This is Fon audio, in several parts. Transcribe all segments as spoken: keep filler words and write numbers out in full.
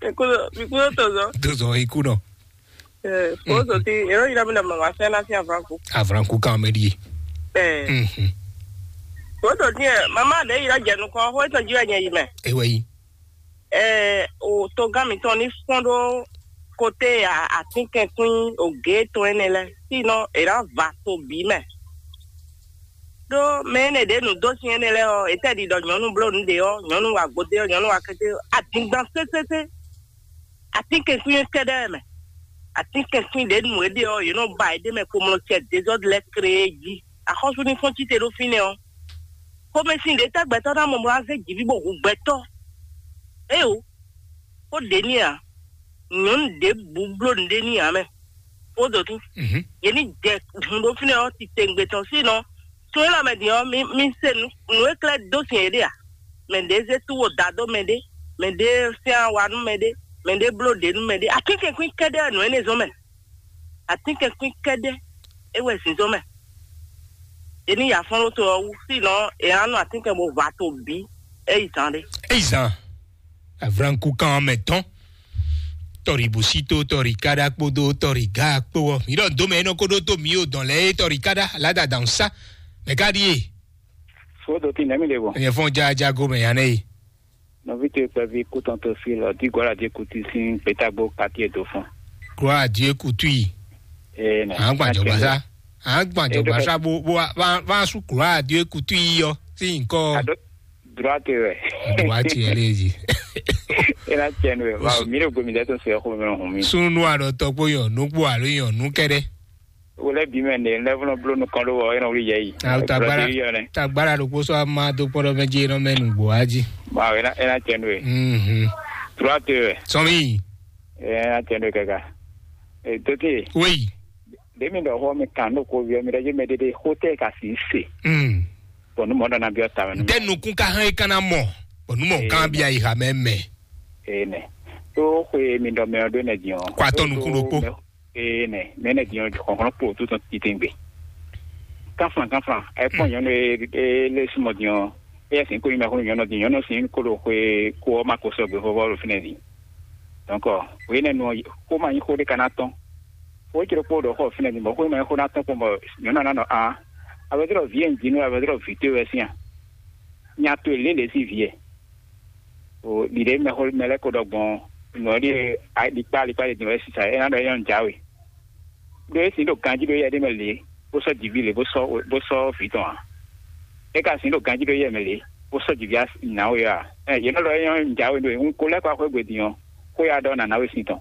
Ekudo, mi kudo tozɔ. Tozɔ ikú nɔ. Eh, foto ti, ero yina mi na mama sɛ na si avranku. Avranku kan mɛ di. Eh, Mhm. Foto ti, eh, mama de yina jɛ nukɔ, ho etɔn ji wɛ nyɛ yi mɛ. Ewe yi. Eh, o togan mi tɔn ni fɔn ɖo kote a, atinkɛnkwin o ge tɔn ɛnɛ lɛ. Sinɔ, e na va to bi mɛ. Ɖó mɛ énɛ́ ɖě nǔ dó sin énɛ́ lɛ́ɛ ɔ́, è tɛ́ ɖi ɖɔ nyɔ̌nu bló nǔ ɖě ɔ́, nyɔ̌nu wa gbodé ɔ́, nyɔ̌nu wa kété ɔ́, adingban sésésé. Atínkɛnkwín kɛ́ɖɛ́ mɛ. Atínkɛnkwín ɖě nu é ɖe ɔ́, yě nɔ ba yě ɖ'é mɛ kpomlɔ cɛ dezɔ́d lɛ́ɛ kree jí. Axɔ́sú ní fɔ́n cíte ɖó fínɛ́ ɔ́. Xomɛsin ɖě tɛ́ gbɛtɔ́ ná mɔ bó ná zé jǐví bó hu gbɛtɔ́? Éyo, xó ɖě ní ǎ. Nyɔ̌nu ɖěbǔ bló nǔɖé ní ǎ mɛ. Xó dǒtú. Mhm. Yě ní jɛ hun ɖó fínɛ́ ɔ́ titewungbe tɔn sínɔ. Sun élɔ́ mɛ din ɔ́, mi, mi se nǔ, nǔ e klɛ́ dó sin yě ɖe a? Mɛ ɖě zé tú wo da dó mɛ ɖé, mɛ ɖě sɛ́n awa nú mɛ ɖé, mɛ ɖě bló ɖě nú mɛ ɖé. Atínkɛnkwín kɛ́ɖɛ́ wɛ nǔ énɛ́ zɔ́n mɛ. Atínkɛnkwín kɛ́ɖɛ́ é wɛ zǐnzɔ́n mɛ. È ní ya fɔ́n ɖó to ɔ́ wú, sínɔ è nǎ nɔ atínkɛn bó va to bǐ é yi zán ɖé. Eyi zan avranku kan mɛ tɔn tɔri busito tɔri kada kpodo tɔri ga kpo ɔ mi ɖɔ dome enɔ ko ɖo to mi o dɔn lɛ e tɔri kada lada dan sa mɛ ka ɖi e Fodo ti nɛmi ɖe bɔ. Nyɛ fɔn ja jago mɛ ya nɛ yi. Nɔvi to kpɛvi kutɔn to fi lɔ di gɔla di kuti sin petagbo kati e do fɔn. Kura die kutu yi. Ee nɛ. An gban jɔgba sa. An gban jɔgba sa bo bo wa wa su kura die kutu yi yɔ si nkɔ. Ado droite wɛ. Droite yɛ le ji. Ena tiɛn wɛ. Wa mi ɖo gbomi dɛ to se xo mi hun mi. Sunu alɔ tɔgbo yɔ nugbo alo yɔ nu kɛɖɛ. Wole bi mɛ ne lɛ fɔlɔ blo nukɔn ɖo wɔ yɛn wuli yɛ yi. Awo tagbara Brazil yɔ ne. Tagbara ɖokpo sɔ ama do kpɔɖɔ mɛ dzi enɔ mɛ nugbo aji. Ma wɛ na ena cɛ nu ye. Mhm. Trois te wɛ. Sɔmi. Ena cɛ nu ye kaka. E tote. Oui. Demi ɖɔ xɔ mi kan ɖo ko viɔ mi ɖe dzi mɛ ɖeɖe xo tɛ ka si se. Mm. Bɔn nu mɔ ɖɔ na biɔ ta mɛ nu. Dɛ nukun ka hɛn kana mɔ. Bɔn nu mɔ kan bia yi ha mɛ mɛ. Ee nɛ. To xwe mi ɖɔ mɛ ɔ ɖo nɛ diɔ. Kɔ atɔ nukun ɖokpo. Ee nɛ, mɛ nɛ diɔ xɔxlɔn kpo tó tɔn titengbe. Kanflan kanflan, ɛ kpɔn nyɔnu e e le sumɔ diɔ. E yɛ sin ko yi mɛ xɔnu nyɔnu di nyɔnu sin ko ɖo xwe ko ɔ ma ko sɔgbe vɔvɔ ɖo finɛ di. Donc, o yi nɛ nu ko ma nyi xo ɖe kana tɔn. Xo e cɛ ɖokpo ɖo xɔ finɛ di bɔ xo ma nyi xo na tɔn kpɔn bɔ nyɔnu ana nɔ a. Avɛdrɔ vi e un ji nú avɛdrɔ vi te wɛ sin a. Nya to e lě lě sín vǐ e. O ɖiɖe mɛ xo mɛ lɛ́ ko ɖɔ gbɔn nǔ ɔ́ ɖíe alikpá alikpá ɖe din wɛ sisa é ná ɖɔ é nyɔ́ nǔ jáwe. Ɖó é sin ɖo ganjí ɖó yɛ ɖé mɛ lě bó sɔ́ jǐví lě bó sɔ́ bó sɔ́ vǐ tɔn ǎ. É ka sin ɖo ganjí ɖó yɛ mɛ lě bó sɔ́ jǐví nǎwe ǎ. Ɛ yě nɔ ɖɔ é nyɔ́ nǔ jáwe ɖó é un ko lɛ́ kɔ axwé gbe din ɔ́, xó ya ɖɔ nǎ ná we sin tɔn.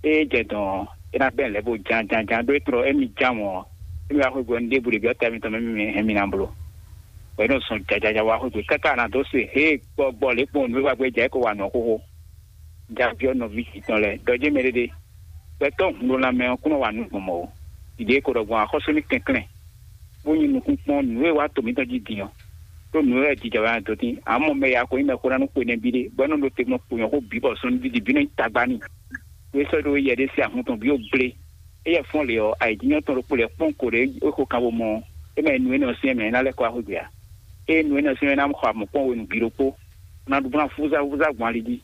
Ée jɛ dɔn ɔ́, é ná gbɛn lɛ̌ bó ján ján ján ɖó é tlɔ émí ján mɔ̌ ɔ́, émí wá xwé gbe ɔ́, nú ɖěbǔ ɖě byɔ́ tɛ́ mitɔn mɛ mɛ hɛn mi ná bló. Bɔ é nɔ zɔn jajaja wá xwé gbe káká ná dó se hé gbɔgbɔ lě kpɔ́n nǔ e wá gbé jɛ é ko wa nǔ ɔ́ xóxó. Javyɔ́ nɔví tɔn lɛ́ɛ, ɖɔ jɛ́n mɛ ɖéɖé. Gbɛtɔ́ hun ɖó lanmɛ ɔ́ kún nɔ wa nǔ gbɔn mɔ̌ ó. Ɖiɖe e ko ɖɔ gbɔn axɔ́sú ní kɛnklɛ́n, bó nyí nukúnkpɔ́n nǔ e wá to mǐtɔn jí din ɔ́. Ɖó nǔ e wɛ jijɛ wɛ dó dín, amɔ́ mɛ ya ko nyí mɛxó ná nú xwe nɛbí ɖé, bɔ é nɔ ɖo te gbɔn kponyɔ́ xó bǐ bɔ sɔ́ nú dídí bǐ nɔ nyí tagba n'i. Ɖó é sɔ́ ɖó yɛ ɖé sín ahun tɔn bǐ ó gblé. Éyɛ́ fɔ́n lě ɔ́, ayǐjínjɔ́n tɔn ɖokpó lɛ́ɛ kpɔ́n ko ɖě é xo kan bo mɔ, é mɛ nu énɛ́ ɔ́ syɛ́n mɛ é ná lɛ́ kɔ wá xwé gbe ǎ. Ée nu énɛ́ ɔ́ syɛ́n mɛ é ná xɔ amɔ̌ kpɔ́n hwenu bǐ ɖokpó, bó ná ɖu bó ná fúzá fúzá gbɔn ali jí.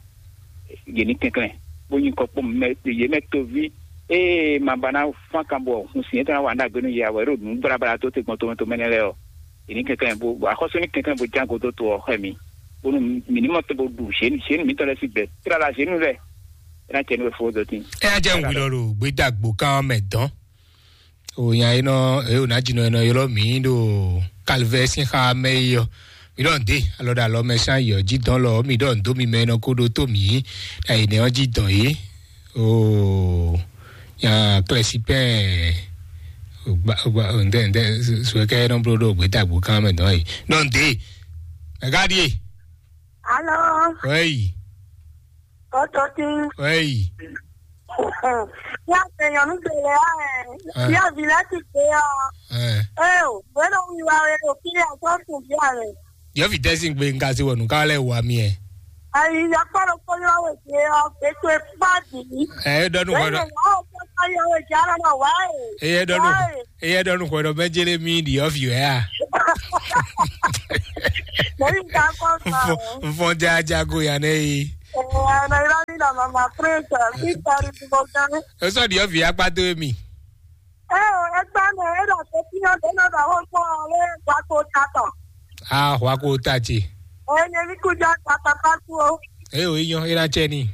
Yě ní kɛnklɛ́n, bó nyí kɔkpɔ́ mɛ yě mɛ toví. Ée ma ba ná fán kan bɔ hun sin é tɔn ná wa nú agbe nú yě ǎ, bɔ é ɖo nǔ blabla dó te gbɔn tomɛ tomɛ nɛ́ lɛ́ɛ ɔ́, yě ní kɛnklɛ́n bó axɔ́sú ní kɛnklɛ́n bó ján go dó to ɔ́ xɛ mi, bónú mǐ ní mɔ te bó ɖu zěnu zěnu mǐtɔn lɛ́ɛ sín gbɛ tlala zěnu lɛ́ɛ. É ná cɛ nú we fó dó tín. É ná jẹ́ nǔ hwi lɔ ɖo gbédàgbò kan mɛ dɔn. O nya e nɔ e o ná dzi nɔ e nɔ ylɔ́ mǐ ɖo kalivɛ sín xa mɛ é ɔ́, mǐ ɖɔ nǔ dé alɔ ɖo alɔ mɛ sín ayǐ ɔ́ jí dɔn lɔ mǐ ɖɔ nǔ dó mi mɛ e nɔ ko ɖó tó mǐ ɖo ayǐ nɛ ɔ́ jí dɔn é. Oo, nya klɛsipɛn gba gba ŋdɛ ŋdɛ suɛkɛ nɔ bló ɖo gbédàgbò kan mɛ dɔn é. Ɖɔ nǔ dé. Mɛ ka ɖíe? Alo. Wɛyi. Kɔtɔtin. Wɛyi. Ya se nyɔnu gbele ya ɛ. Ah. Ya vi la ti gbe ya. Eh. Eh, o, bueno, mi wa we o kiri a so kun bi a re. Yɔ fi tɛsi gbe nka si wɔ nu ka lɛ wa mi ɛ. Ayi, ya kpɔ ɖo kpɔ yɔ we je ɔ, gbe to e kpa di. Eh, dɔnu kɔ dɔ. Wa o kpɔ yɔ we je ala na wa e. Eh, dɔnu. Wa e. Eye ɖɔ nukɔn ɖɔ mɛ jele mi ɖi ɔfi wɛ a? Mɛ yi ka kɔ sa o. Nfɔn ja jago ya ne yi. Eh, na ira ni na Mama Prince, Victor Bogdan. Eso di ovi akpa do emi. Eh, o, e gba me, e da se ti yo de no da ho ko ale gba ko ta to. Ah, wa ko ta ti. Eh, ne mi ku ja ta ta ta ku o. Eh, o iyan, e na che ni.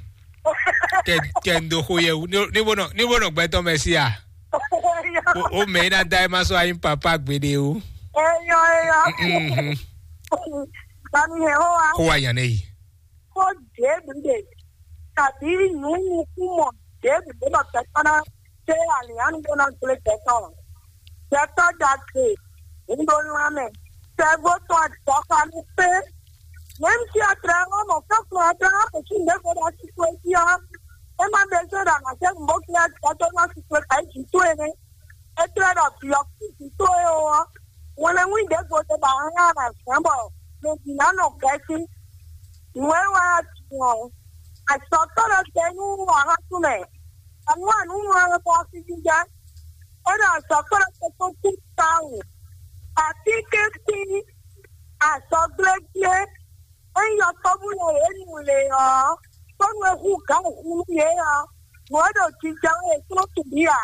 Ke ke ndo ho ye, ni ni bono, ni bono gbe to me si a. O o me na dai ma so ayin papa gbede o. Eh, yo, eh, yo. Mhm. Bami he ho wa. Ko wa yan nei. Ko David, tàbí nǔnukúmọ̀ David ló lọ tẹ kpá ná ṣé àlìyánu ló ná gblé gbẹtọ̀. Gbẹtọ̀ dàgbé, ń ló ńlá mẹ́. Sẹ́gbó tún àdìsọ́kọ ní pé, mẹ́m tí a tlẹ̀ wọ́n mọ̀ fẹ́kùn ọdún á kò sí ìgbésẹ̀ dá sí pé kí ọ́. É má bẹ ṣé dàgbà ṣé ń bó kí á ti ọjọ́ náà sí pé kàí jù tó ẹni. É tlẹ̀ dọ̀ fi ọ́ kí jù tó ẹ o. Wọ́n lè wí ìdẹ́gbò tó bá wọn rárá sàn bọ̀. Lè dì náà nù kẹ́sí. Ìwé wa tiwọn. Àìsàn tọ́lọ̀ tẹnu wàhálà túnlẹ̀. Àwọn àánú wọn lọ bọ́ sí jíjá. Ó dà sọ pé ó tó kú táwọn. Àti kékeré àsọgblégbé. É yọ tɔ́bú lɛ yě nu le ɔ́. Tɔ́nu e hu gǎn hu nú yě ɔ́. Nǔ e ɖo jijɛ wɛ yě tló tǔ bí ǎ.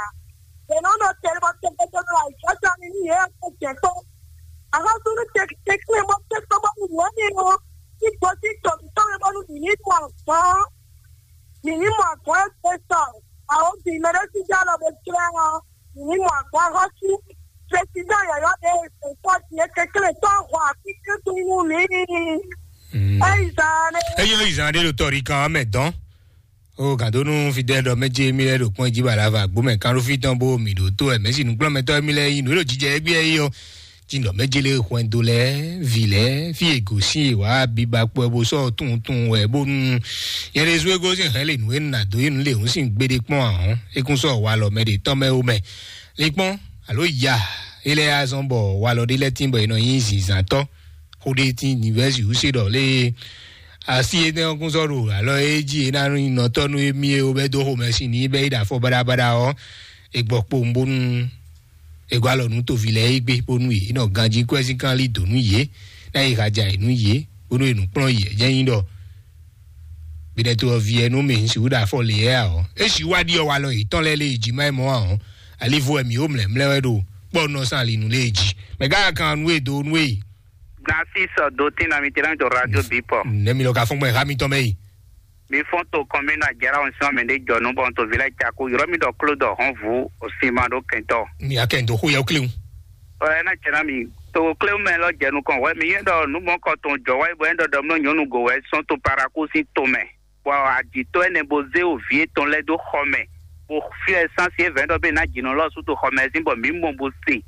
Yě nɔ ɖo tɛnmɔ tɛgbɛtɛgbɛ ɖo ayǐjɔ́jɔ ní nú yě ɔ́ kpó jɛ kpó. Axɔ́súnú tɛkítɛkí e mɔ kpé kpó bónú nǔ énɛ́ ɔ́ ní gosín tɔ̌mítɔ́ e bónú mǐ ní mɔ azɔn ɔ́, mǐ ní mɔ azɔn e gbe sɔ awǒvi mɛɖésíjá lɔ bó jlɛ́ ɔ́, mǐ ní mɔ azɔn axɔ́sú. Prezidán yɔ̌yɔ́ ɖé e sɛ̌n kpɔ́ din é kɛnklɛ́n tɔ́ hɔn atínkɛ́ntin nú mǐ. Ényí zán ɖé. Ényí zán ɖé ɖo tɔ́ ɖi kan ɔ́ mɛ dɔn. O gǎndónú fidɛ́ ɖɔ mɛ ce mí lɛ́ɛ ɖo kpɔ́n jí bala va gbó mɛ kánɖófí tɔn bó mì ɖǒ tó wɛ mɛ̌si nǔkplɔ́nmɛtɔ́ mí lɛ́ɛ nyí nǔ e ɖo jijɛ égbé yí ɔ́. Jí ɖɔ mɛ ce lé hwɛndo lɛ́ɛ vi lɛ́ɛ fí e gǒsín e wǎ biba kpɔ bó sɔ́ tunwun tunwun wɛ bónú yɛ ɖésú é gosín hɛn lě nǔ e nà dó yí nǔ lě hǔn sín gbeɖé kpɔ́n ahɔ́n é kún sɔ́ walɔ mɛ ɖě tɔn mɛ ó mɛ. Lě kpɔ́n alo ya é lɛ́ɛ azɔn bɔ walɔ ɖé lɛ́ɛ tín bɔ è nɔ nyí zǐnzǎntɔ́. Xó ɖé tín nivɛ́si wǔ se ɖɔ lé asi énɛ́ ɔ́ kún sɔ́ ɖo alɔ e jí e ná nyí nɔtɔ́ nú émí e ó bɛ́ dó xomɛ sin ní bɛ́ yi ɖo afɔ baɖabaɖa ɔ́, è gbɔ kpowun bónú è gɔ́ alɔ nú toví lɛ́ɛ é gbé bónú yě nɔ ganjí kwɛ́ sín kán lí dǒ nú yě, ná yi haja yě nú yě, bónú è nǔ kplɔ́n yě jɛ́n nyí ɖɔ binɛto ɔ́ vi ɛ nú mì un sixú ɖo afɔ lě ɛ ǎ ɔ́, é sixú wá ɖiɔ walɔ yětɔn lɛ́ɛ lé e jí má yi mɔ ǎ ɔ́, alivo wɛ mǐ ó mlɛ̌mlɛ́ wɛ ɖo kpɔ́ nɔ sín ali nú lé e jí. Mɛ gǎn kan nú e dó nú e. Narcisse Dotin na mi tena to radio bipɔ. Ne mi lɔ ka fɔn gbɛ ha mi tɔn mɛ yi. Mi fɔn to kɔn mi na jara on sima mi de jɔ nu bɔn to vila jako yɔrɔ mi dɔ klo dɔ hɔn vu o sima do kɛntɔ. Mi akɛ ndo xo yɛ kle. Ɔ ɛ na cɛ na mi to kle mɛ lɔ jɛ nukɔn wɛ mi yɛ dɔ numɔ kɔ tɔn jɔ wɛ bɔ yɛ dɔ dɔ mlɔ nyɔnu go wɛ sɔn to paraku si to mɛ. Bɔ aditɔ ɛnɛ bo zé o vi etɔn lɛ dó xɔ mɛ, bo fiɛ sansi evɛn dɔ be na jinɔ lɔ su to xɔ mɛ sin bɔ mi mɔ bo se.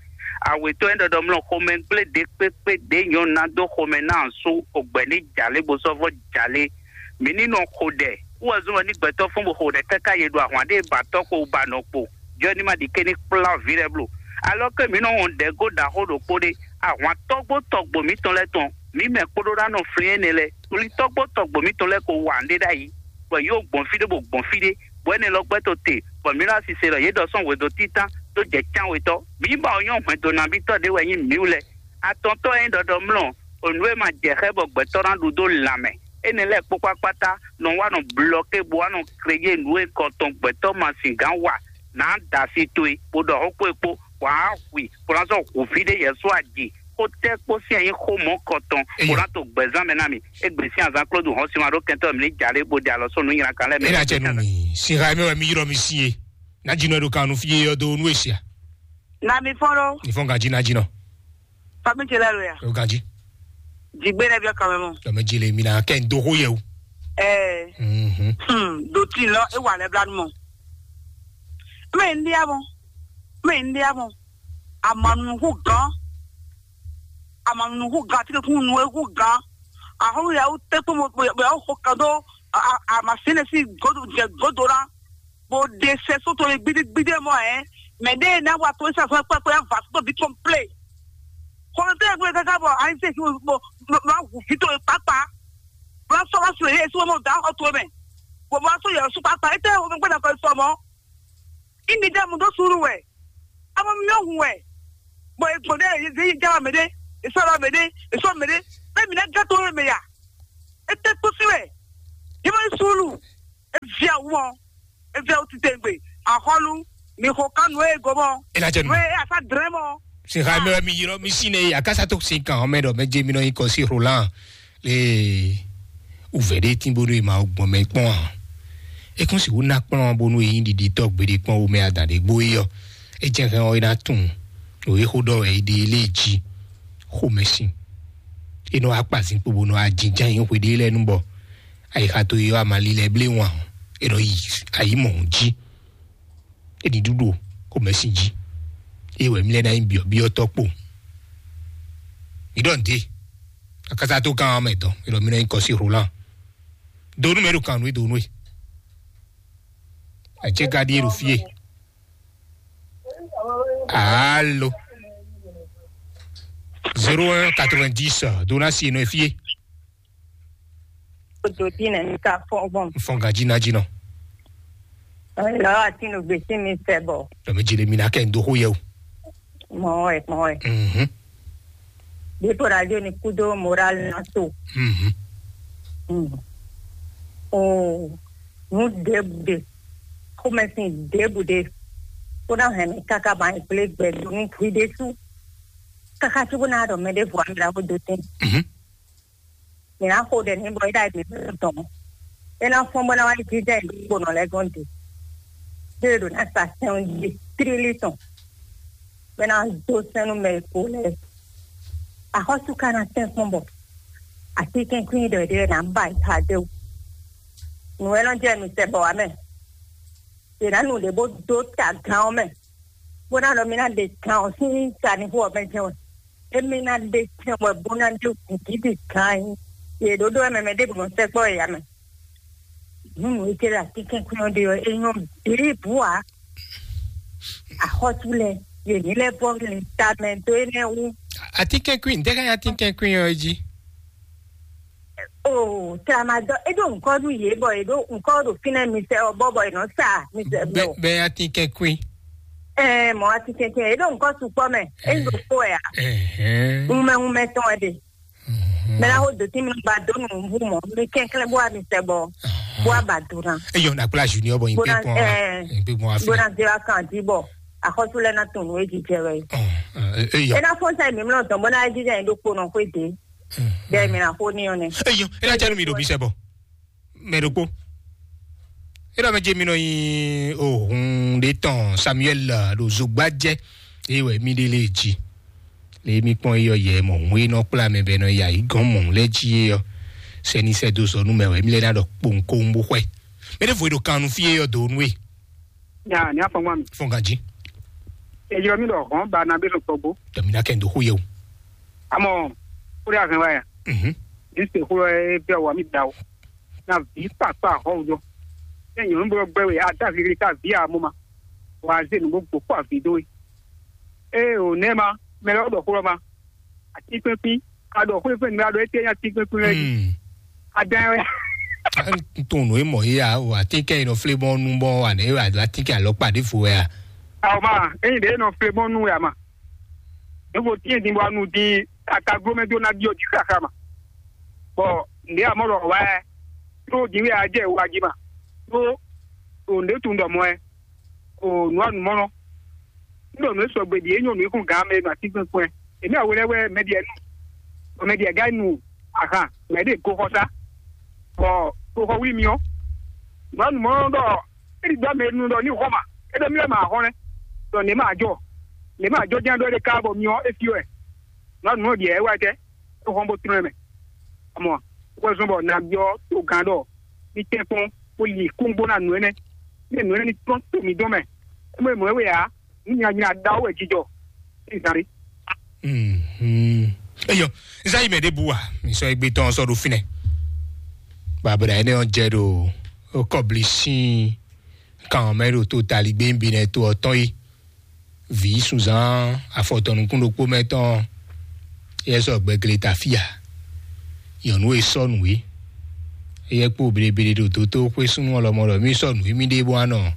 Awetɔ ɛnɛ dɔ mlɔ xomɛ gblé de kpékpé de nyɔnu na dó xomɛ na su ogbɛ ní jalé bo sɔvɔ jalé. Mi ní nɔ xo ɖɛ wɛ zɔn wɛ ní gbɛtɔ fún bo xo ɖɛ káká ye ɖo ahwan ɖé ba tɔ kpo ba nɔ kpo. Jɔ ní ma ɖi ké ní kplá vi lɛ blo. Alɔ ke mi nɔ wɔn ɖɛ go ɖaxó ɖokpó ɖé, ahwan tɔgbo tɔgbo mitɔn lɛ tɔn mi mɛ kpódó ná nɔ flin énɛ́ lɛ́ɛ. Tolítɔ́gbó tɔgbo mǐtɔn lɛ́ɛ ko wa nǔɖé ɖ'ayǐ, bɔ yě gbɔn fí ɖé bó gbɔn fí ɖé, bɔ énɛ́ lɔ gbɛ́ to te, bɔ mǐ ɖo asise ɖɔ yě ɖɔ sɔ́ hwedó títán dó jɛ cánwetɔ́. Mǐ ba ɔ́ nyɔ́ hwɛndo nabítɔ́ ɖé wɛ nyí mǐ wú lɛ́ɛ. Atɔntɔ́ e nyí ɖɔɖɔmlɔ́, o nǔ e ma jɛ xá bɔ gbɛtɔ́ ná ɖu dó lanmɛ. Énɛ́ lɛ́ɛ kpó kpákpátá nɔ wá nɔ blɔké bó wá nɔ kreyé nǔ e kɔ tɔn gbɛtɔ́ ma sin gǎn wa, nǎ da asi towe, bó ɖɔ xó kpó e kpó, bɔ á hu i, bó ná sɔ́ hu fí ɖé yɛ só aji. Xó tɛ́ kpó sín ɛ nyí xó mɔ̌kɔtɔn, bó ná to gbɛ̌zán mɛ ná mi. Égbé sín azán Klódu hɔn sin ma ɖó kɛntɔ́ mǐ ní jalé bó ɖe alɔ sɔ́ nǔ nylakan lɛ́ɛ mɛ. É ná jɛ nú mi, sin ha mɛ wɛ mi yrɔ mi sin e. Ná jinɔ ɖo kan nú fí e ɔ́ dó nú e sia. Na mi fɔ́n ɖó. Mi fɔ́n ganjí ná jinɔ. Fami ce lɛ́ɛ lo ya. O ganjí. Jigbe ɖe biɔ kan mɛ mɔ. Lɔmɛ ji le mi na kɛ n do xó yɛ o. Ɛɛ. Mhm. Hmm, do ti lɔ e wà lɛ bla nu mɔ. Mɛ n dia mɔ. Mɛ n dia mɔ. Amanu hu gan. Amanu hu gan ti kun nu hu gan. Ahɔn ya u te kpɔmɔ bɛ o ho kan do. A a ma sene si godo jɛ godo la. Bó ɖe sɛ sóto e gbídígbídí mɔ ɛ, mɛ ɖe ná wa to sa fún pɛpɛ va sóto bí kɔmplé. Kɔmplé gbé kaka bɔ ayi se kí bó bó hu fi to kpakpa. Bó sɔ wá sùn yé sún mɔ da xɔ to mɛ. Bó bó sɔ yɛ sún kpakpa. Ete wo gbé na kɔ sɔ mɔ. Imi dɛ mu dó sùúrù wɛ. Amɔ mi yɔ hun wɛ. Bɔ egbɔn ɖe ye ye jama mɛ ɖe, esɔ la mɛ ɖe, esɔ mɛ ɖe. Bɛ mi na gã to mɛ ya. Ete kpó sí wɛ. Yɛ mɔ sùúrù. Eviɛ Wɔ, eviɛ wutitengbe, axɔlu, mi xo kan nú e go mɔ. Ela jɛ nu. Nú e asa drɛn mɔ. Sin xa mɛ mi yirɔ mi si ne akasa to sin kan mɛ dɔ mɛ je mi nɔ yi kɔ si Roland le uvɛ de tin bo do ma gbɔn mɛ kpɔn a. E kɔn si wo na kplɔn bo nu e yin didi tɔ gbede kpɔn wo mɛ adan de gbo yi ɔ. E jɛ hɛn ɔ e na tun. O e xo dɔ wɛ e de le ji. Xo mɛ sin. E nɔ akpa zinkpo bo nɔ ajinjan yi xwe de lɛ nu bɔ. Ayixa to yi ɔ amali lɛ ble wan. E nɔ yi ayi mɔ ji. Eɖi ɖuɖu xomɛsin jí. Eye wɛ mi lɛ ná nyí byɔ̌byɔ́tɔ́ kpo. Mi ɖɔ nǔɖé. Akasa tó kan mɛ dɔn. Elɔ mi nɔ nyí kɔsi Roland. Donu mɛ ɖo kan nú e donu e. Àjẹ gadi e ɖo fie. Alo. Zéro un quatre-vingt-dix dona si nɔ e fie. Odo ti nɛ mi ka fɔ gbɔn. Fɔn gaji na ji nɔ. Lɔ ati nu gbesi mi fɛ bɔ. Dɔ mi ji le mi na kɛ ndo xo yɛ o. Mɔ ɛ mɔ ɛ. Mhm. Bipo radio ni kudo moral na to. Mhm. Mm. O nu debu de. Xomɛsin debu de. Kó na hɛn mi kaka ba ikple gbɛ do nu kui de su. Kaka tí kó na dɔ mɛ de vɔ mi la ko do tɛn. Mhm. Mǐ ná xo ɖɛ n'i bɔ é ɖo ayǐ mǐ tɔn. É ná fɔ́n bó ná wá yi jínjɔ́n ayǐ ɖokpónɔ lɛ́ɛ gɔ́n din. Ɖé e ɖǒ ná sa sɛn jí tlílí tɔn, bɔ é ná dó sɛn nú mɛ e ko lɛ́ɛ. Axɔ́sú ka ná tɛ́nkpɔ́n bɔ atínkɛ́nkwín ɖɔ ɖé ná ba yi xa dé wú. Nǔ e nɔ jɛ mǐ sɛ bɔ wǎ mɛ. Yě ná nu ɖě bó dó ta gán ɔ́ mɛ, bó ná ɖɔ mì ná ɖe kan ɔ́ sín sanixó ɔ́ mɛ jɛ́n wɛ. Émí ná ɖe tɛn wɛ bó ná ɖe gǔgídi gán ayí. Yě ɖó ɖó wɛ mɛ mɛ ɖěbǔ nɔ sɛkpɔ́ yě ǎ mɛ. Nǔ nǔ e jẹ́ ɖo atínkɛ́nkwín ɔ́ ɖe ɔ́, é nyɔ́ ɖěbǔ ǎ. Axɔ́sú lɛ́ɛ, yě ní lɛ́ vɔ́ lin tamɛ dó énɛ́ wú. Atínkɛ́nkwín, ntɛ́ ká nyí atínkɛ́nkwín ɔ́ jí? O tramadɔ, e ɖo ŋkɔ nú yě bɔ e ɖo ŋkɔ ɖo fínɛ́ misɛ ɔ bɔ bɔ e nɔ sa misɛ bɛ bɔ. Bɛ atínkɛ́nkwín. Ɛɛ mɔ atínkɛ́nkwín e ɖo ŋkɔ sukpɔ mɛ, e ɖo kpo ɛ a. Ɛhɛn. Ŋumɛ ŋumɛ tɔn ɛ de. Mɛ la ko do tí mi ba dó nu ŋu mɔ mi kɛnklɛn bó wa misɛ bɔ bó wa ba do na. Eyɔ na kpla junior bɔ yin pé pɔn wa. Yin pé pɔn wa fi. Bó na zé wa kan jí bɔ axɔsu lɛ na tun nu e jijɛ wɛ. Eyɔ. E na fɔn sa mi mlɔ tɔn bó na jijɛ yin ɖo kpo nɔ xwé de. Bɛɛ mi na xo ní ɔ́ nɛ. Eyɔ, e na jɛ nu mi ɖo mi sɛ bɔ. Mɛ ɖokpó. E ɖɔ mɛ jɛ mi nɔ nyi ohun ɖe tɔn Samuel ɖo zogba jɛ. Eye wɛ mi ɖe lé ji. Le mi kpɔn eyɔ yɛ mɔ hun e nɔ kplá mɛ bɛ nɔ ya yi gɔn mɔ lɛ ji eyɔ. Sɛni sɛ do zɔ nu mɛ wɛ mi lɛ na ɖɔ kpowun kowun bó xwɛ. Mɛ ɖe vo e ɖo kan nu fi eyɔ do nu e. Ya, ní afɔngba mi. Fɔn ganji. Ejɔ mi ɖɔ hɔn ba na bɛ sɔn tɔgbo. Dɔmina kɛ n do xo yɛ o. Amɔ, kúrẹ́ àfin wáyà. Mhm. Ní se kúrò ẹ bí ọwọ́ mi da o. Na vǐ kpakpa àhɔwùjọ. Ní nyɔ̌nu bó gbẹ́ wẹ̀ á dá vǐ ká vǐ àmú ma. Wà á zé nǔgbó gbó kó àvǐ dó we. Ée ò nɛ́ ma, mɛ lɛ́ɛ wó ɖɔ xó lɔ ma. Atínkpínkpín, a ɖɔ xó fɛn mi a ɖɔ étɛ́ nyí atínkpínkpín lɛ́ɛ jí. Hmm. A dán wɛ. N tó nù é mọ̀ yé a o atínkɛ yi nɔ flé bɔn nu bɔn wà nɛ wà atínkɛ alɔ kpa ɖé fo wɛ a. Àwọn ma, ẹ̀yin ɖe nɔ flé bɔn nu wɛ a ma. Evo tiɲɛ din bɔ anu din akagblo mɛ do na diɔ ji xaxa ma. Bɔ nde amɔ lɔ wa ɛ. Tó din wɛ a jɛ wa ji ma. Tó o nde tun dɔ mɔ ɛ. O nua nu mɔnɔ. N ɖo nǔ e sɔgbe ɖi é nyɔ nǔ e kún gǎn mɛ ɖo atínkpɛn kpɔn ɛ. Èmi awo lɛ́ɛ wɛ mɛ ɖiɛ nu. Bɔ mɛ ɖiɛ gán nu ahan mɛ ɖe goxɔsá. Bɔ goxɔ wlí mi ɔ́. Nǔ anu mɔ ɖɔ é ɖi gbɔ mɛ nu ɖɔ ní xɔ ma. É ɖɔ mí lɛ ma xɔ nɛ. Ɖɔ ně ma jɔ. Ně ma jɔ jɛ́n ɖɔ é ɖe ká bɔ mi ɔ́ é fí wɛ. Nǔ anu mɔ ɖiɛ é wá jɛ. É xɔ bó tlɔ́n mɛ. Amɔ wɛ zɔn bɔ nǎ byɔ́ togán ɖɔ ní tɛ́nkpɔ́n bó li kúngbó ná nǔ énɛ́. Ní nǔ énɛ́ ní tɔ́n to mǐ dɔn mɛ. É mɔ é mɔ é wɛ ǎ. Ní nyanya ɖawo wɛ jijɔ ní zan ɖé. Mhm. Eyɔ, nsa yi mɛ ɖe bu wa mi sɔ egbe tɔn sɔ ɖo finɛ. Babra ene ɔ jɛ ɖo kɔbli sin kan mɛ ɖo to tali gbɛngbɛn nɛ to ɔtɔn yi. Vǐ sunzan afɔtɔn nukún ɖokpó mɛ tɔn yɛ sɔ gbɛgle ta fia. Nyɔnu e sɔ nǔ é. Eyɛ kpo bleble ɖo doto xwé súnnu ɔlɔmɔ ɖɔ mí sɔ nǔ émí ɖe bó anɔ.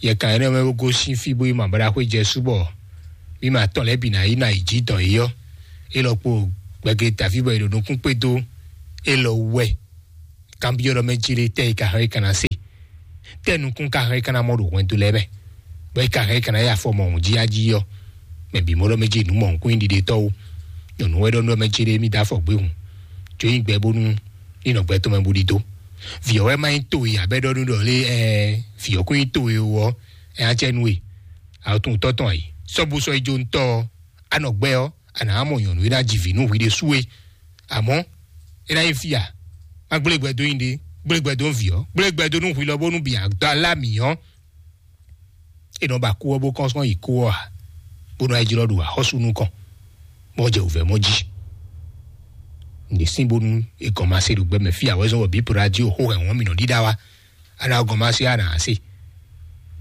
Yɛ kan ɛnɛ mɛ bó gosín fí bó yi mabalaxwé jɛ súbɔ mí ma tɔn lɛ́ bǐ ná yi ná yi jí dɔn yi ɔ́. Élɔ́ kpo gbɛgle ta fí bɔ è ɖo nukún kpé dó élɔ́ wú wɛ. Kanbyɔ́ ɖɔ mɛ jí lé tɛ́ yi ka hɔn yi ka ná se. Tɛ́ nukún ka hɛn ka ná mɔ ɖo hwɛndo lɛ́ɛ mɛ, bɔ é ka hɛn ka ná yi afɔ mɔ̌hun jí ají ɔ́, mɛ bǐ mɔ ɖɔ mɛ jí nǔ mɔ̌hunkún nyí ɖiɖetɔ́ ó. Nyɔ̌nu wɛ ɖɔ nú mɛ jí ɖé mì dó afɔ gbéhùn, jó nyí gbɛ bónú ní nɔ gbɛ tɔn mɛ bó ɖidó. Vǐ ɔ́ wɛ má nyí to e abɛ ɖɔ nú ɖɔ lé ɛ vǐ ɔ́ kún nyí to e ó ɔ́, ɛ á cɛ nú e. Awɔtun tɔ́ tɔn ayǐ sɔ́ bó sɔ́ yi jó ntɔ́ ɔ́, a nɔ gbɛ ɔ́, a nǎ mɔ nyɔ̌nu e ná ji vǐ nú hwi ɖésú é. Àmọ́ é ná nyí fí a? Má gblé gbɛ dó nyi ɖé, gblé gbɛ dó nú vǐ ɔ́, gblé gbɛ dó nú hwi lɔ bónú bǐ a dó alá mǐ ɔ́. É nɔ ba kú ɔ́ bó kɔ́n sɔ́ yi kú ɔ́ ǎ, bó nɔ yi jlɔ́ ɖo axɔ́sú nukɔn, bó jɛ wǔvɛ́ mɔ jí. Nǐ sín bónú è gɔn ma se ɖo gbɛ mɛ fí a wɛ zɔ́n wɔ bǐ po ɖo ají o xó hɛn wɔn mì nɔ ɖíɖá wá. Ana gɔn ma se ana ase.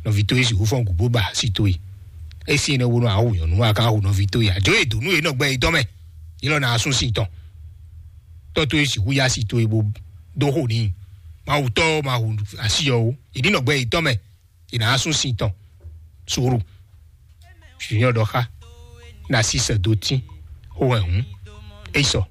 Nɔvi towe si hufɔn gu bó ba si towe. Esi ne wo nɔ awu nyɔnu wa kan awu nɔvi towe ya. Jo e donu e nɔ gbɛ yi tɔn mɛ. Yi lɔ na asun si tɔn. Tɔ towe si hu ya si towe bo do ho ni. Ma wu tɔ ma hu asi yɔ o. Yi ni nɔ gbɛ yi tɔn mɛ. Yi na asun si tɔn. Suru. Junior dɔ xa. Na si sɛ do tin. Ho hɛn hun. Esɔ.